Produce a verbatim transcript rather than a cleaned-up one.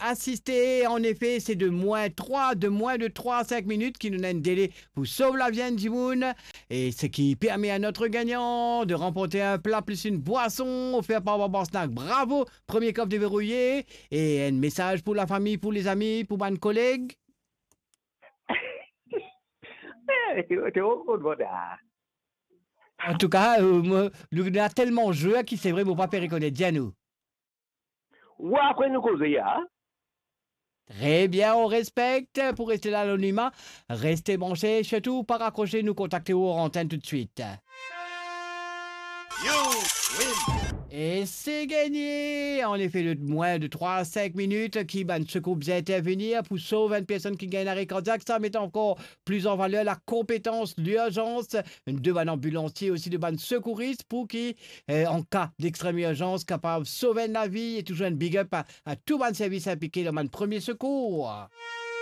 asiste. Anefe, se de mwin trwa, de mwin de trwa a sink minit ki nou ena enn dele pou sov lavi enn dimoun. E seki permet a notre gagnant de remporte enn pla plis enn bwason ofer par Babar Snack. Bravo, premie kof deverouye. E enn mesaz pou lafami, pou lezami, pou bann koleg? Eh, to, to, to, to, to. Antouka, euh, mo, nou, nou ena telman zwe ki se vre, mo pa pe rekonet. Dir nou. Wi, apre nou koze, a? Tre bien, on respekt. Pou reste dan lanonima, reste branche, sirtou pa rakrose, nou kontakte ou ar antenn toutswit. You win. E se gagne! Anefe, dan mwin de trwa a sink minit, ki bann sekour bizin intervenir pou sov enn personn ki gagn lare kardiak, sa met ankor plis an valer lakonpetans lirzans de bann anbilansie, osi de bann sekouris, pou ki, eh, an ka dextrem irzans, kapav sov enn lavi. E touzour enn big up a, a tou bann servis inplike dan bann premie sekour.